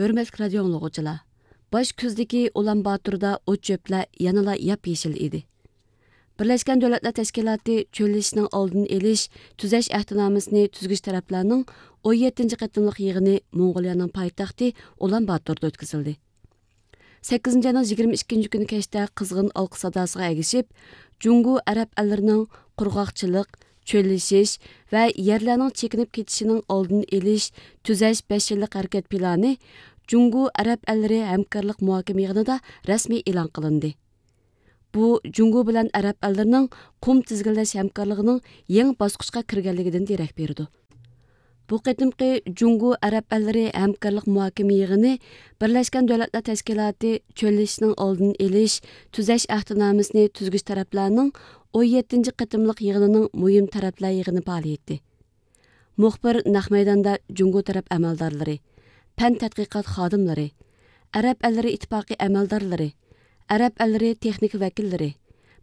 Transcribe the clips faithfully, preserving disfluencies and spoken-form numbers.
ھۆرمەتلىك رادىيو ئاڭلىغۇچىلار، باش كۈزدىكى ئۇلان باتوردا ئوت-چۆپلەر يەنىلا ياپيېشىل ئىدى. بىرلەشكەن دۆلەتلەر تەشكىلاتى چۆللىشىشنىڭ ئالدىنى ئېلىش، تۈزەش ئەھدىنامىسىنى تۈزگۈچى تەرەپلەرنىڭ ئون يەتتىنچى قېتىملىق يىغىنى موڭغۇلىيەنىڭ پايتەختى ئۇلان باتوردا ئۆتكۈزۈلدى. سەككىزىنچى ئاينىڭ يىگىرمە ئىككىنچى كۈنى كەچتە قىزغىن ئالقىش ساداسىغا ئەگىشىپ، جۇڭگو ئەرەب ئەللىرىنىڭ قۇرغاقچىلىق، چۆللىشىش ۋە يەرلەرنىڭ چېكىنىپ كېتىشىنىڭ ئالدىنى ئېلىش، تۈزەش بەش يىللىق ھەرىكەت پىلانى جۇڭگو ئەرەب ئەللىرى ھەمكارلىق مۇھاكىمە يىغىنىدا رەسمىي ئېلان قىلىندى. بۇ جۇڭگو بىلەن ئەرەب ئەللىرىنىڭ قۇم تىزگىنلەش ھەمكارلىقىنىڭ يېڭى باسقۇچقا كىرگەنلىكىدىن دېرەك بېرىدۇ. بۇ قېتىمقى جۇڭگو ئەرەب ئەللىرى ھەمكارلىق مۇھاكىمە يىغىنى بىرلەشكەن دۆلەتلەر تەشكىلاتى چۆللىشىشنىڭ ئالدىنى ئېلىش، تۈزەش ئەھدىنامىسىنى تۈزگۈچى تەرەپلەرنىڭ ئون يەتتىنچى قېتىملىق يىغىنىنىڭ مۇھىم تەرەپلەر يىغىنى پائالىيىتى. مۇخبىر نەق مەيداندا جۇڭگو تەرەپ ئەمەلدارلىرى، پەن تەتقىقات خادىملىرى، ئەرەب ئەللىرى ئىتتىپاقى ئەمەلدارلىرى، ئەرەب ئەللىرى تېخنىكا ۋەكىللىرى،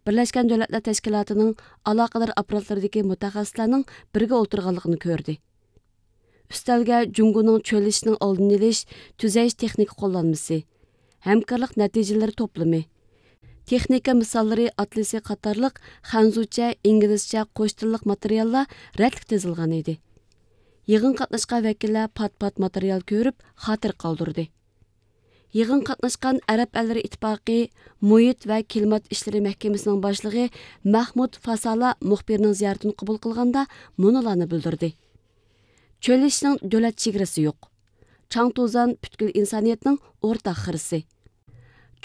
بىرلەشكەن دۆلەتلەر تەشكىلاتىنىڭ ئالاقىدار ئاپپاراتلىرىدىكى مۇتەخەسسىسلەرنىڭ بىرگە ئولتۇرغانلىقىنى كۆردى. ئۈستەلگە جۇڭگونىڭ چۆللىشىشنىڭ ئالدىنى ئېلىش، تۈزەش تېخنىكا قوللانمىسى، ھەمكارلىق نەتىجىلىرى توپلىمى، تېخنىكا مىساللىرى ئاتلىسى قاتارلىق خەنزۇچە، ئىنگلىزچە قوش تىللىق ماتېرىياللار رەتلىك تىزىلغان ئىدى. يىغىنغا قاتناشقان ۋەكىللەر پات-پات ماتېرىيال كۆرۈپ، خاتىرە قالدۇردى. يىغىنغا قاتناشقان ئەرەب ئەللىرى ئىتتىپاقى مۇھىت ۋە كىلىمات ئىشلىرى مەھكىمىسىنىڭ باشلىقى مەھمۇد فاسالا مۇخبىرنىڭ زىيارىتىنى قوبۇل قىلغاندا مۇنۇلارنى بىلدۈردى: چۆللىشىشنىڭ دۆلەت چېگرىسى يوق. چاڭ توزان پۈتكۈل ئىنسانىيەتنىڭ ئورتاق خىرىسى.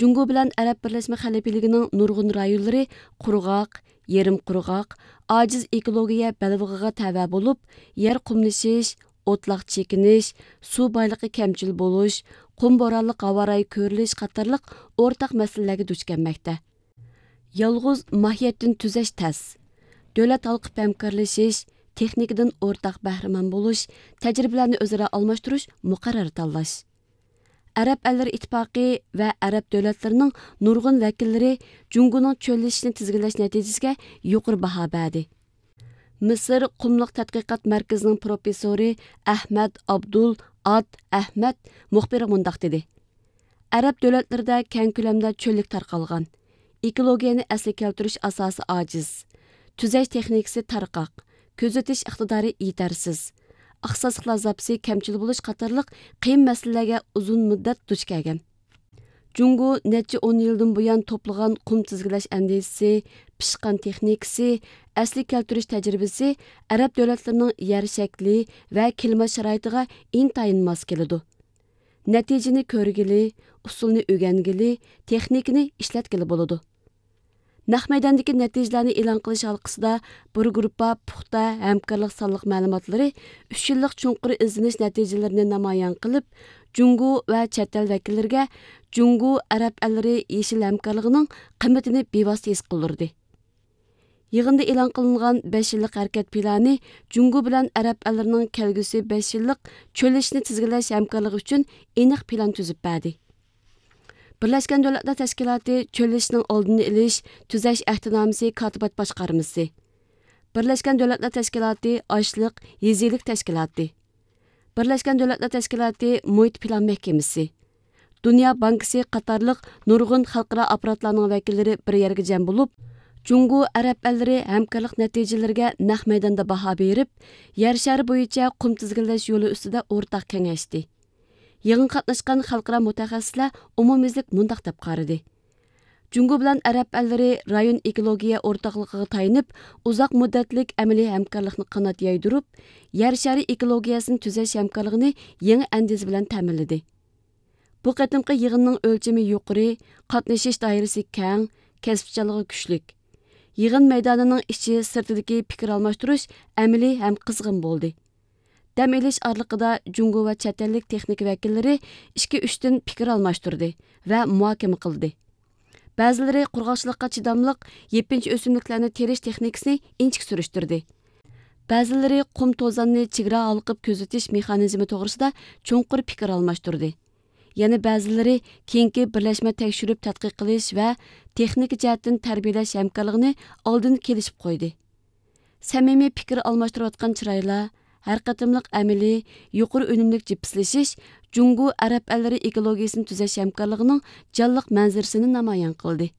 جۇڭگو بىلەن ئەرەب بىرلەشمە خەلىپىلىكىنىڭ نۇرغۇن رايونلىرى قۇرغاق، يېرىم قۇرغاق، ئاجىز ئېكولوگىيە بەلبېغىغا تەۋە بولۇپ، يەر قۇملىشىش، ئوتلاق چېكىنىش، سۇ بايلىقى كەمچىل بولۇش، قۇم بورانلىق ھاۋا رايى كۆرۈلۈش قاتارلىق ئورتاق مەسىلىلەرگە دۇچ كەلمەكتە. يالغۇز ماھىيەتتىن تۈزەش تەس. دۆلەت ھالقىپ ھەمكارلىشىش، تېخنىكىدىن ئورتاق بەھرىمەن بولۇش، تەجرىبىلەرنى ئۆزئارا ئالماشتۇرۇش، مۇقەررەر تاللاش. ئەرەب ئەللىرى ئىتتىپاقى ۋە ئەرەب دۆلەتلىرىنىڭ نۇرغۇن ۋەكىللىرى جۇڭگونىڭ چۆللىشىشىنى تىزگىنلەش نەتىجىسىگە يۇقىرى باھا بەردى. مىسىر قۇملۇق تەتقىقات مەركىزىنىڭ پروفېسسورى ئەھمەد ئابدۇل ئاد ئەھمەد مۇخبىرغا مۇنداق دېدى: ئەرەب دۆلەتلىرىدە كەڭ كۆلەمدە چۆللۈك تارقالغان. ئېكولوگىيەنى ئەسلىگە كەلتۈرۈش ئاساسى ئاجىز. تۈزەش تېخنىكىسى تارقاق. كۆزىتىش ئىقتىدارى يېتەرسىز. ئىختىساسلىقلار زاپىسى كەمچىل بولۇش قاتارلىق قىيىن مەسىلىلەرگە ئۇزۇن مۇددەت دۇچ كەلگەن. جۇڭگو نەچچە ئون يىلدىن بۇيان توپلىغان قۇم تىزگىنلەش ئەندىزىسى، پىشقان تېخنىكىسى، ئەسلىگە كەلتۈرۈش تەجرىبىسى ئەرەب دۆلەتلىرىنىڭ يەر شەكلى ۋە كىلىمات شارائىتىغا ئىنتايىن ماس كېلىدۇ. نەتىجىنى كۆرگىلى، ئۇسۇلنى ئۆگەنگىلى، تېخنىكىنى ئىشلەتكىلى بولىدۇ. نەق مەيداندىكى نەتىجىلەرنى ئېلان قىلىش ھالقىسىدا بىر گۇرۇپپا پۇختا ھەمكارلىق سانلىق مەلۇماتلىرى ئۈچ يىللىق چوڭقۇر ئىزدىنىش نەتىجىلىرىنى نامايان قىلىپ، جۇڭگو ۋە چەت ئەل ۋەكىللىرىگە جۇڭگو ئەرەب ئەللىرى يېشىل ھەمكارلىقىنىڭ قىممىتىنى بىۋاسىتە ھېس قىلدۇردى. يىغىندا ئېلان قىلىنغان بەش يىللىق ھەرىكەت پىلانى جۇڭگو بىلەن ئەرەب ئەللىرىنىڭ كەلگۈسى بەش يىللىق چۆللىشىشنى تىزگىنلەش ھەمكارلىقى ئۈچۈن ئېنىق پىلان تۈزۈپ بەردى. بىرلەشكەن دۆلەتلەر تەشكىلاتى چۆللىشىشنىڭ ئالدىنى ئېلىش، تۈزەش ئەھدىنامىسى كاتىبات باشقارمىسى، بىرلەشكەن دۆلەتلەر تەشكىلاتى ئاشلىق، يېزا ئىگىلىك تەشكىلاتى، بىرلەشكەن دۆلەتلەر تەشكىلاتى مۇھىت پىلان مەھكىمىسى، دۇنيا بانكىسى قاتارلىق نۇرغۇن خەلقئارا ئاپپاراتلارنىڭ ۋەكىللىرى بىر يەرگە جەم بولۇپ، جۇڭگو ئەرەب ئەللىرى ھەمكارلىق نەتىجىلىرىگە نەق مەيداندا باھا بېرىپ، يەر شارى بويىچە قۇم تىزگىنلەش يولى ئۈستىدە ئورتاق كېڭەشتى. يىغىنغا قاتناشقان خەلقئارا مۇتەخەسسىسلەر ئومۇميۈزلۈك مۇنداق دەپ قارىدى: جۇڭگو بىلەن ئەرەب ئەللىرى رايون ئېكولوگىيە ئورتاقلىقىغا تايىنىپ، ئۇزاق مۇددەتلىك ئەمەلىي ھەمكارلىقنى قانات يايدۇرۇپ، يەر شارى ئېكولوگىيەسىنى تۈزەش ھەمكارلىقىنى يېڭى ئەندىزە بىلەن تەمىنلىدى. بۇ قېتىمقى يىغىننىڭ ئۆلچىمى يۇقىرى، قاتنىشىش دائىرىسى كەڭ، كەسىپچانلىقى كۈچلۈك. يىغىن مەيدانىنىڭ ئىچى سىرتىدىكى پىكىر ئالماشتۇرۇش ئەمەلىي ھەم قىزغىن بولدى. دەم ئېلىش ئارىلىقىدا جۇڭگو ۋە چەت ئەللىك تېخنىكا ۋەكىللىرى ئىككى ئۈچتىن پىكىر ئالماشتۇردى ۋە مۇھاكىمە قىلدى. بەزىلىرى قۇرغاقچىلىققا چىداملىق يېپىنچا ئۆسۈملۈكلەرنى تېرىش تېخنىكىسىنى ئىنچىكە سۈرۈشتۈردى. بەزىلىرى قۇم توزاننى چېگرا ھالقىپ كۆزىتىش مېخانىزمى توغرىسىدا چوڭقۇر پىكىر ئالماشتۇردى. يەنە بەزىلىرى كېيىنكى بىرلەشمە تەكشۈرۈپ تەتقىق قىلىش ۋە تېخنىكا جەھەتتىن تەربىيەلەش ھەمكارلىقىنى ئالدىن كېلىشىپ قويدى. سەمىمىي پىكىر ئالماشتۇرۇۋاتقان چىرايلار، ھەر قېتىملىق ئەمەلىي يۇقىرى ئۈنۈملۈك جىپسلىشىش جۇڭگو ئەرەب ئەللىرى ئېكولوگىيىسىنى تۈزەش ھەمكارلىقىنىڭ جانلىق مەنزىرىسىنى نامايان قىلدى.